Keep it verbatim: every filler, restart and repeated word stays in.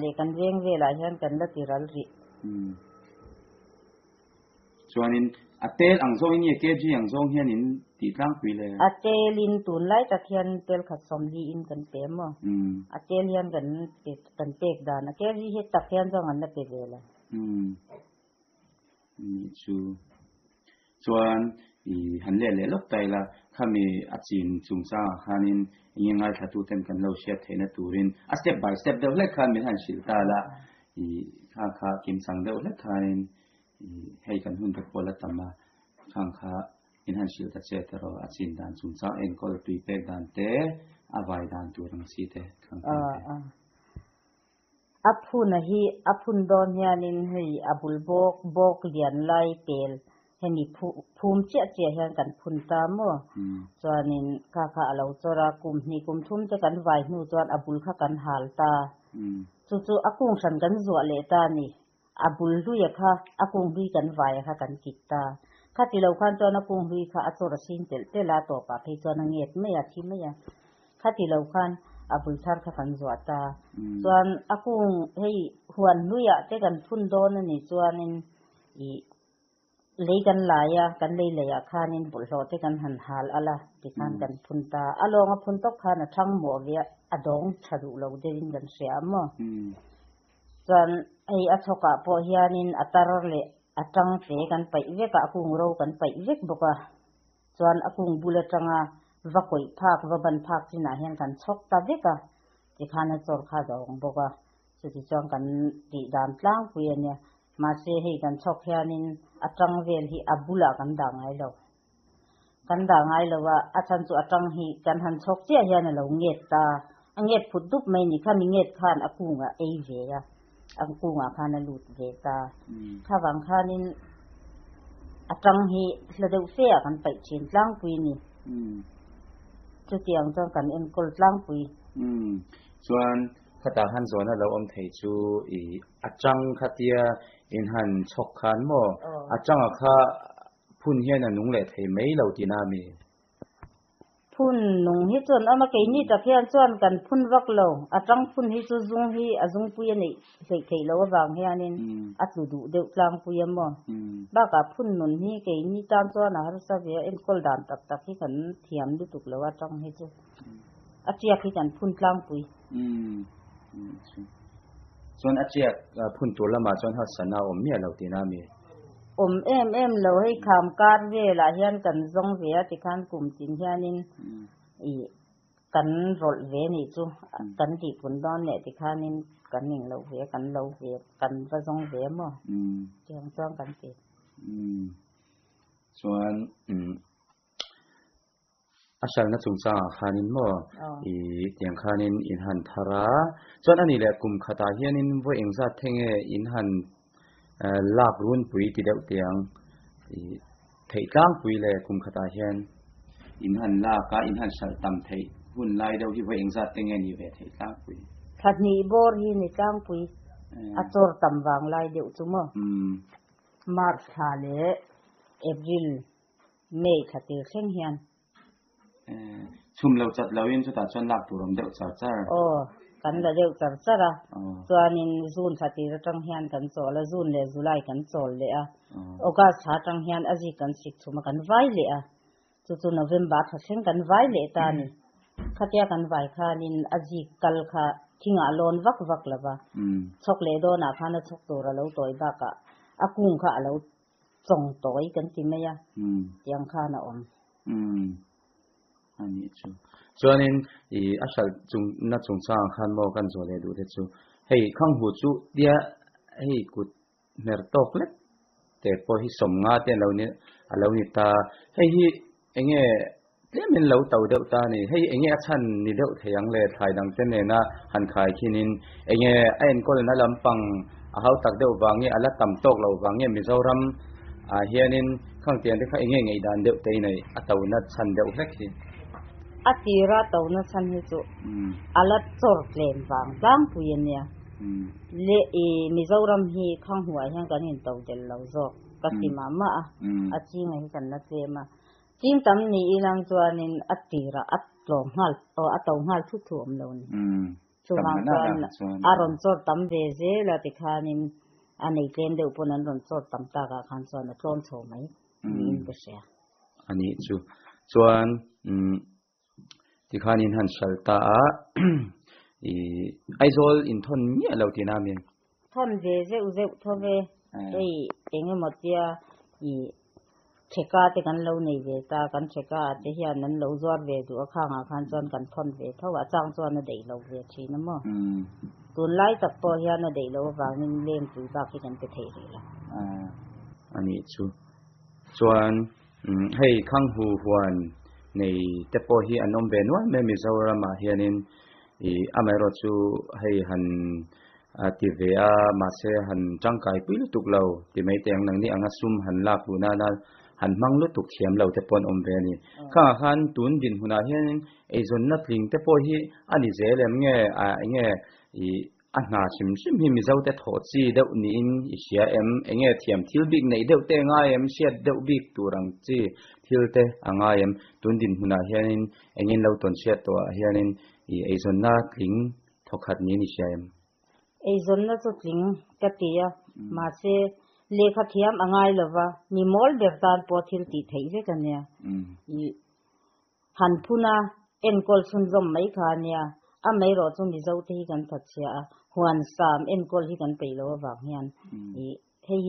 Leh kan veng velah hian kan la ti ral rih. Um chuanin a tel ang zawngin nge kg ang zawng hian in tih tlangpui le? A telin tunlai tak hian tel khat sawmli in kan pe maw? Um A tel hian kan pe kan pek dan a kg hi tak hian zawng an la pe ve lo. Um ni chu chuan i han le leh lawk tai la khami a chin chungchangah khanin enge ngaithla tu ten kan lo hriat theihna turin a step by step deuh hlek khan min han hrilh ta la i kha kha kimchang deuh hlek khanin i hei kan hun te pawh la tam a khang kha min han hrilh ta che te rawh a chin dan chungchang enkawl tui pek dan te a vai dan tur ang chi te khang A khang te. A a phun a hi a phun dawn hianin hei a bul bawk bawk lian lai pel hemi phu phum chiah chiah hian kan phun ta maw? Um chuanin kha kha a lo chawr a kum hnih kum thum te kan vai hnu chuan a bul kha kan hal ta. Um chu chu a kung hran kan zuah leh ta ni a bul hlui a kha a kung hlui kan vai a kha kan kit ta kha ti lo khan chuan a kung hlui kha a chawr a sin telh telh a tawpah phei chuan a nget mai a thi mai a kha ti lo khan a bul thar kha kan zuah ta. Um chuan a kung hei huan hluiah te kan phun dawn ani chuanin i lei kan lai a kan lei leiah khanin bawlhhlawh te kan han hal ala tikhan um kan phun ta a lawng a phun tawp khan a thang mawh ve a dawng tha duh lo deuhin kan hria maw? Um chuan hei a chhawkah pawh hianin a tar leh a tang te kan paih vek a a kung ro kan paih vek bawk a chuan a kung bul atanga va kawih phak va ban phak chinah hian kan chhawk ta vek a tikhan a chawr kha a dawng bawk a chuti chuan kan tih dan tlangpui ania mahse hei kan chhawk hianin a tang vel hi a bulah kan dah ngai lo kan dah ngai lo a a chan chu a tang hi kan han chhawk chiah hian a lo nget ta a nget phut dup mai ni khami nget khan a kungah ei ve a a kungah khan a lut ve ta um kha wang khanin a tang hi hla deuh fe ah kan paih thin tlangpui ni. Um chutiang chuan kan enkawl tlangpui. Um chuan khata han zawna lo awm thei chu i atang khatia in han chhawk khan maw? Aw. Atanga kha phun hian a nung leh thei mai lo tina mi? Phun nung hi chuan ama keini tak hian chuan kan phun vak lo atang phun hi chu zung hi a zung pui ani hlei thei lo awang hianin um a tlu duh deuh tlangpui a maw? Um bakah phun nun hi keini tan chuan a harsa ve a enkawl dan tak tak hi kan thiam lutuk lo atang hi chu a chiak hi kan phun tlangpui. Um chuan a chiak phun tur lamah chuan harsana awm miah lo tina mi? Awm em em lo hei kham kar velah hian kan zawng ve a tikhan kum tin hianin um i kan rawlh ve ni chu kan tih pun dawn leh tikhanin kan ning lo ve kan lo ve kan va zawng ve maw? Um tiang chuan kan ti. Um chuan um a hral na chungchangah khanin maw? Aw. I tiang khanin in han thar a chuan ani leh kum khatah hianin vawi engzat thenge in han lak run pui ti deuh tiang i theih tlangpui le kum khatah hian in han lak a in han hral tam theih hun lai deuh hi vawi engzat te nge ni ve theih tlangpui? Thla hnih bawr hi ni tlangpui a chawr tam wang lai deuh chu maw? Um March thla leh April May thla tir thleng hian. Chhum lo chat lo in chutah chuan lak tur awm deuh char char. Aw kan la deuh char char a aw chuanin June thla tir atang hian kan chawl a June leh July kan chawl leh a aw August thla atang hian a zik kan sik thum a kan vai leh a chu chu November thla thleng kan vai leh ta ni khatia kan vai khanin a zik kal kha thingah lawn vak vak lova um chhawk leh dawnah khan a chhawk tur a lo tawi bakah a kung kha a lo chawng tawi kan ti mai a um tiang khan a awm. Um ani chu chuanin i a hral chung na chungchangah khan maw kan zawh leh duh te chu hei khang hu chu tia hei kut hmer tawk lek te pawh hi sawmnga te alo ni alo ni ta hei hi enge tlemin lo to deuh ta ni hei enge a chhan ni deuh thei ang le thlai dang te nena han khai khinin enge a enkawl na lampang a hau tak deuh wange ala tam tawk lo wange Mizoram a hianin khang tian te kha enge ngei dan deuh te nei a to na chhan deuh hlek hi? A tira to na chan hi chu um ala chawr tlem wang tlangpui ania um le i Mizoram hi khang huai hian kan in to del lo zawk ka ti ma ma a um a chinga hi kan la tlem a ching tam ni ilang chuanin a tira a tlawm nghal o a to nghal thu thu awm lo ni. Um Chuvang chuan a rawn chawr tam ve zel a tikhanin a nei tlem deuh pawn an rawn chawr tam tak ah khan chuan a tlawm chho mai niin ka hria. A nih chu. Chuan umm tikhanin han hralh ta a ih Aizawl inthawn miah lo tihna a mi? Thawn ve zeuh zeuh tho ve. Hei engemaw tia ih theka te kan lo nei ve ta, kan theka ah te hian an lo zuar ve duh a khangah khan chuan kan thawn ve tho a, a chang chuan a daih lo ve thin a maw. Tunlai tak pawh hian a daih loh avangin lengpui bak hi kan pe thei rih lo. A nih chu. Chuan hei Khanghu huan nei te pawh hi an awm ve nual mai Mizoramah hianin ih amaherawh chu hei han ti ve a mahse han tangkai pui lutuk lo ti mai teh ang nangni anga sum han lak luh nana han hmang lutuk thiam lo te pawh an awm ve a ni. Khangah khan tun dinhmunah hianin eizawnna tling te pawh hi a ni zel em nge ah enge ih a hna hrim hrim hi Mizo te thawh chi deuh niin i hria em? Enge thiam thil bik neih deuh te a ngai em? Hriat deuh bik tur ang chi thil te a ngai em? Tun dinhmunah hianin engin lo tawn hriat tawhah hianin ih eizawnna tling thawkhat niin i hria em? Eizawnna chu tling ka ti a, mahse lehkha thiam a ngai lova, mi mawl ber tan pawh thil tih theih vek a nia. Ih han phun a, enkawl chhunzawm mai kha a nia, amaherawh chu Mizo te hi kan thatchhia a, huan sam enkawl hi kan peih loh avang hian ih hei hi